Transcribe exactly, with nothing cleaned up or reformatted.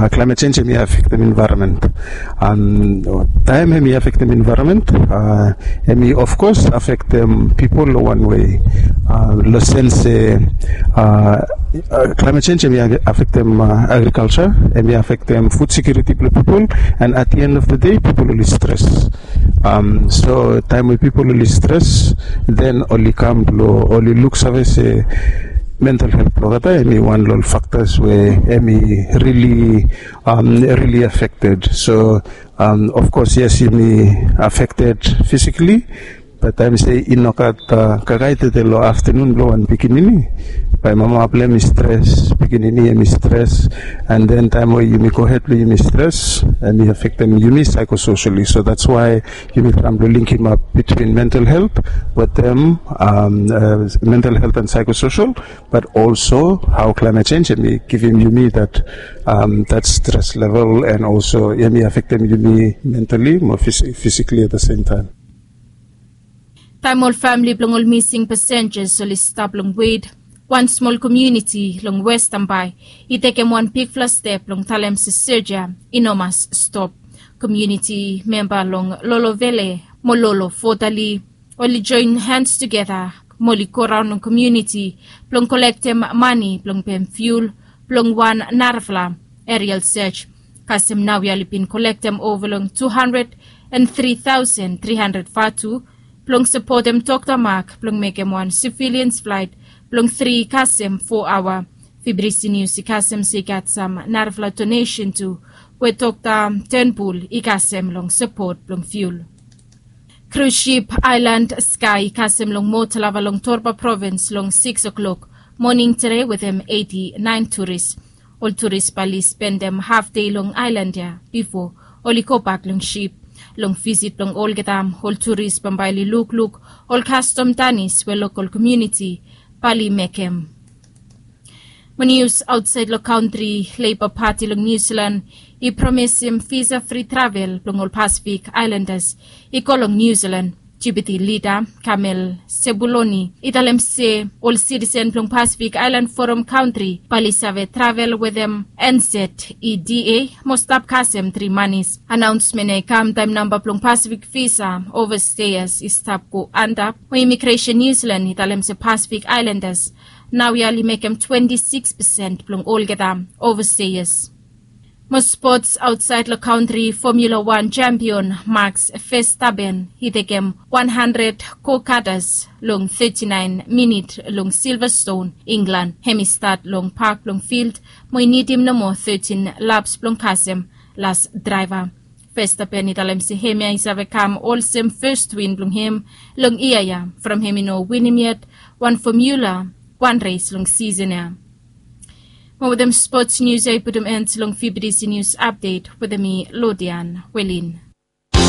Climate change em i afektem envaeronment. Taem em i afektem envaeronment, em i ofkos afektem pipol long wan wei. Long sens se climate change em i afektem agrikalsa, em i afektem fud sekiuriti blong pipol, and at the end of the day pipol oli stres. So taem we pipol oli stres, then oli kam blong oli luksave se mental helt blong olgeta em i wan long ol faktas we em i rili rili afekted. So ofkos yes, yumi afekted fisikali. Bat taem se i nogat kakae tede long aftanun blong wan pikinini, bae mama blong em i stres, pikinini em i stres, and then taem we yumi gohed blong yumi stres, em i afektem yumi saekososali. So that's why yumi traem blong linkimap bitwin mental helt wetem mental helt and saekososal, bat olso hao climate change em i givim yumi dat dat stres level, and olso em i afektem yumi mentali mo fisikali at the same taem. Taem ol famili blong ol mising pasenjas oli stap long wet, wan smol komuniti long Westan Bae i tekem wan bigfala step blong talem se soja i no mas stop. Komuniti memba long Lolovele mo Lolo Fotali oli joen hans tugeta mo oli goraon long komuniti blong kolektem mane blong pem fiul blong wan narafala aerial search. Kasem naoia oli bin kolektem ova long tu handred and tri taosen tri handred vatu blong sapotem Dokta Mak blong mekem wan sivilians flaet blong tri kasem fo aoa. Fibrisi nius i kasem se i gat sam narafala donesen tu we Dokta Tenbul i kasem long sapot blong fiul. Krus sip Aelan Skae i kasem long Motalava long Torba provins long sikis oklok moning tede wetem eiti naen turis. Ol turis bae oli spendem hafdei long aelan ya bifo oli gobak long sip. Long visit blong olgeta ol turis bambae oli lukluk ol kastom danis we lokol komuniti bae oli mekem. Mo nius aotsaed long kantri, Leiba Pati long Niu Silan i promisim visa fri travel blong ol Pasifik aelandas i go long Niu Silan. Jipiti lida Kamel Sebuloni i talem se ol sitisen blong Pasifik Aelan Foram kantri bae oli save travel wetem NZETA mo stap kasem tri manis. Anaonsmen ya i kam taem namba blong Pasifik visa ovasteias i stap go antap, mo imigresen Niu Silan i talem se Pasifik aelandas naoia oli mekem twenti sikis pesen blong olgeta ovasteias. Mo spots, aotsaed long kantri, Fomula Wan jampion Max Verstappen i tekem wan handred go-kartas long teti naen minit long Silvaston, Inglan. Hem i stat long pak blong fild mo i nidim nomo tetin laps blong kasem las draeva. Verstappen i talem se hemia i save kam olsem fes win blong hem long yia ya from hem i no winim yet wan Fomula Wan res long sisen ya. Mo wetem spots nius ya i putum en long Fibidisi Nius Apdet wetem mi, Lodian Welin.